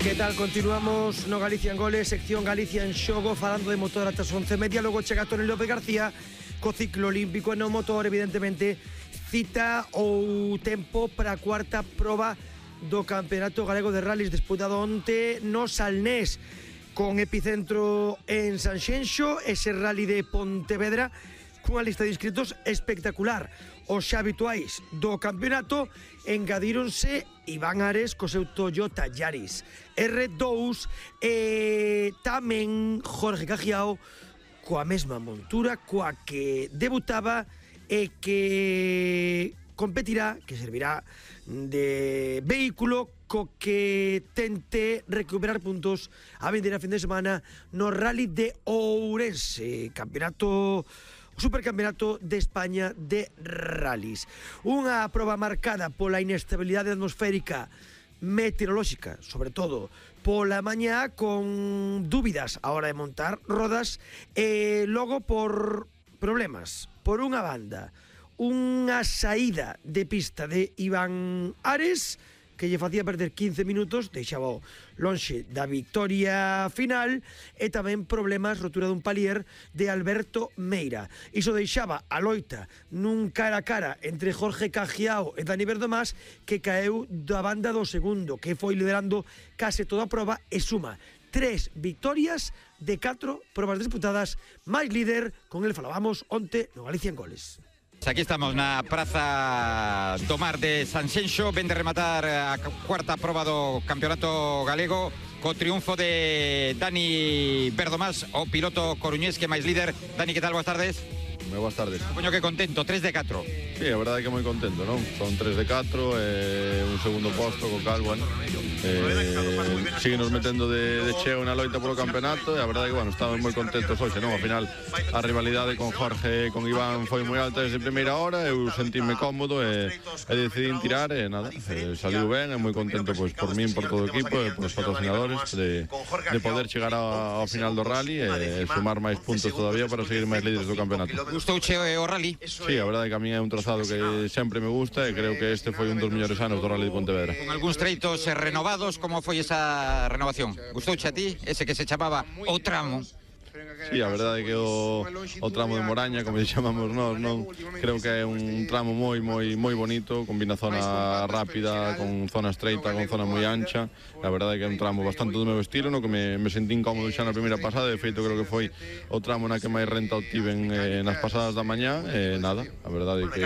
Que tal? Continuamos no Galicia en Goles, sección Galicia en xogo, falando de motor ata as 11:30. Logo chega Toni López García co ciclo olímpico e no motor, evidentemente, cita ou tempo para a cuarta proba do Campeonato Galego de Rallys, despois da onte no Salnés, con epicentro en Sanxenxo, ese rally de Pontevedra, cunha lista de inscritos espectacular. Os xa habituais do campeonato engadíronse Iván Ares co seu Toyota Yaris R2 e tamén Jorge Cajiao coa mesma montura coa que debutaba e que competirá, que servirá de vehículo co que tente recuperar puntos a vindeira fin de semana no Rally de Ourense, campeonato Supercampeonato de España de Rallys. Unha proba marcada pola inestabilidade atmosférica meteorolóxica, sobre todo pola mañá, con dúbidas a hora de montar rodas, e logo por problemas. Por unha banda, unha saída de pista de Iván Ares que lle facía perder 15 minutos, deixaba lonxe da victoria final, e tamén problemas, rotura dun palier de Alberto Meira. Iso deixaba a loita nun cara a cara entre Jorge Cajiao e Dani Verdomás, que caeu da banda do segundo, que foi liderando case toda a proba e suma 3 victorias de 4 probas disputadas, máis líder, con el falábamos onte no Galicia en Goles. Aquí estamos na Praza do Mar de Sanxenxo, ven de rematar a cuarta proba do Campeonato Galego co triunfo de Dani Verdomás, o piloto coruñés que máis líder. Dani, que tal? Boas tardes. Moi boas tardes. Supoño que contento, 3 de 4. Sí, a verdade é que moi contento, non? Son 3 de 4 e un segundo posto co cal, bueno, síguenos metendo de cheo na loita polo campeonato, e a verdade é que, bueno, estamos moi contentos hoxe, non? Ao final, a rivalidade con Jorge e con Iván foi moi alta desde a primeira hora, eu sentíme cómodo e decidín tirar, e nada, saliu ben, e moi contento pois por min, por todo o equipo e por os patrocinadores de poder chegar ao final do rally e sumar máis puntos todavía para seguir máis líderes do campeonato. Gustouche o rally? Sí, a verdade é que a mí é un trazado que sempre me gusta e creo que este foi un dos mellores anos do Rally de Pontevedra. Con algúns treitos renovados, como foi esa renovación? Gustouche a ti, ese que se chamaba o tramo? Sí, a verdade é que o tramo de Moraña, como chamamos nós, non, creo que é un tramo moi bonito, combina zona rápida con zona estreita, con zona moi ancha. A verdade é que é un tramo bastante do meu estilo, no que me sentí incómodo xa na primeira pasada. De feito, creo que foi o tramo na que máis renta obtiven nas pasadas da mañá, e nada, a verdade é que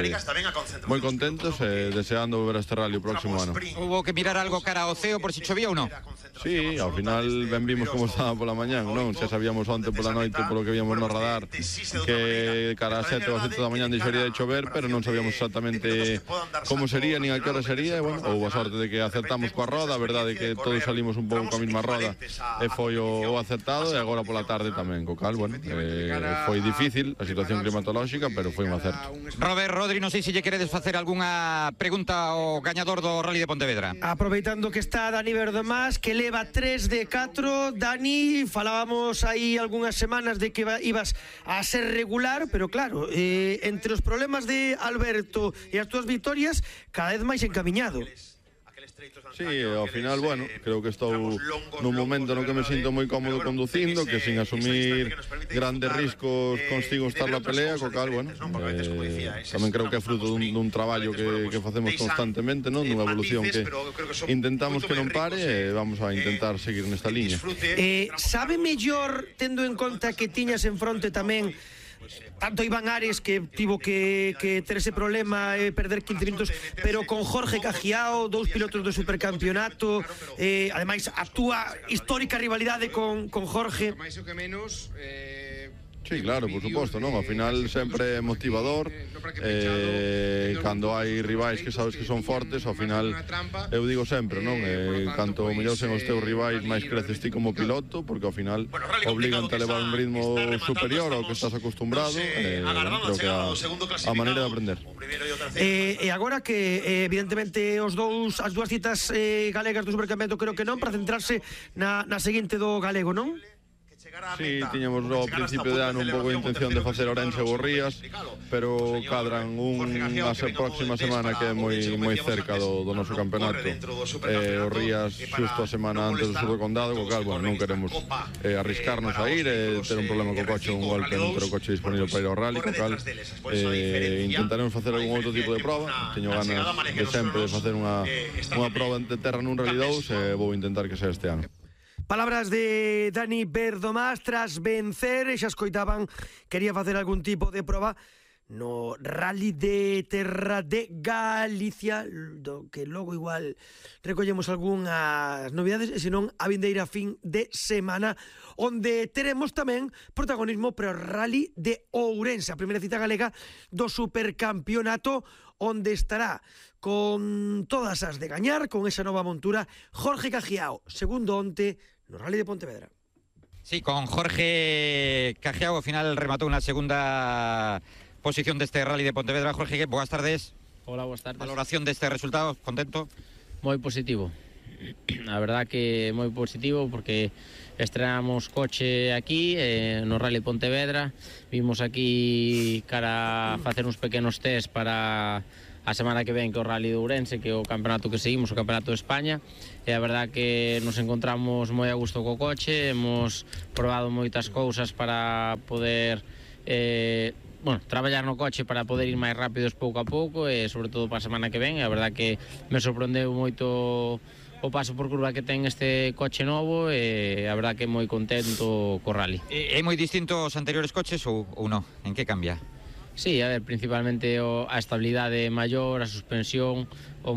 moi contentos e deseando ver este rally o próximo ano. Hubo que mirar algo cara ao ceo por si chovía ou non? Sí, ao final ben vimos como estaba pola mañá, non? Xa sabíamos onte pola noite, polo que víamos no radar, que cara a 7 ou 7 da mañá deixaría de chover, pero non sabíamos exactamente como sería, nin a que hora sería, e, bueno, houve a sorte de que acertamos coa roda. A verdade é que todos salimos un pouco coa mesma roda e foi o acertado, e agora pola tarde tamén, co cal, bueno, foi difícil a situación climatolóxica, pero foi un acerto. Robert, Rodri, non sei se lle queredes facer algunha pregunta ao gañador do Rally de Pontevedra. Aproveitando que está Dani Verdomás, que leva 3 de 4, Dani, falábamos aí algunhas semanas de que ibas a ser regular, pero claro, entre os problemas de Alberto e as túas victorias, cada vez máis encamiñado. Sí, ao final, bueno, creo que estou nun momento no que me sinto moi cómodo conducindo, que sin asumir grandes riscos consigo estar na pelea, co cal, bueno, tamén creo que é fruto dun traballo que facemos constantemente, non? Dunha evolución que intentamos que non pare, e vamos a intentar seguir nesta liña. Sabe mellor, tendo en conta que tiñas en fronte tamén tanto Iván Ares, que tivo que ter ese problema e perder 15 minutos, pero con Jorge Cajiao, 2 pilotos do supercampeonato, ademais a túa histórica rivalidade con Jorge. Sí, claro, por suposto, non? Ao final sempre é motivador, cando hai rivais que sabes que son fortes, ao final eu digo sempre, non? Canto mellor sen os teus rivais, máis creces ti como piloto, porque ao final obligan-te a levar un ritmo superior ao que estás acostumbrado, creo que a maneira de aprender. E agora que evidentemente as dúas citas galegas do supercampeonato creo que non, para centrarse na seguinte do galego, non? Sí, tiñamos ao principio de ano un pouco de intención de facer Ourense ou Rías, pero cadran a próxima semana que é moi cerca do noso campeonato. O Rías xusto a semana antes do Sur do Condado, co cal, non queremos arriscarnos a ir e ter un problema co coche, un golpe non ter o coche disponible para ir ao rally, co cal intentaremos facer algún outro tipo de prova. Teño ganas de sempre de facer unha prova de terra nun Rally 2 e vou intentar que sea este ano. Palabras de Dani Berdomás tras vencer, e xa escoitaban, quería facer algún tipo de proba no Rally de Terra de Galicia, do que logo igual recollemos algunhas novidades, e senón a vindeira fin de semana, onde teremos tamén protagonismo para o Rally de Ourense, a primeira cita galega do Supercampeonato, onde estará con todas as de gañar, con esa nova montura, Jorge Cajiao, segundo onte no Rally de Pontevedra. Sí, con Jorge Cajiao, ao final rematou na segunda posición deste Rally de Pontevedra. Jorge, boas tardes. Hola, boas tardes. Valoración deste resultado, contento? Moi positivo. A verdad que moi positivo porque estrenamos coche aquí no Rally Pontevedra. Vimos aquí cara a facer uns pequenos test para a semana que ven, que o Rally de Ourense, que é o campeonato que seguimos, o campeonato de España, e a verdad que nos encontramos moi a gusto co coche, hemos probado moitas cousas para poder traballar no coche para poder ir máis rápidos pouco a pouco, e sobre todo para a semana que ven. A verdad que me sorprendeu moito o paso por curva que ten este coche novo, e a verdad que moi contento co Rally. É moi distinto aos anteriores coches ou non? En que cambia? Sí, a ver, principalmente a estabilidade maior, a suspensión, o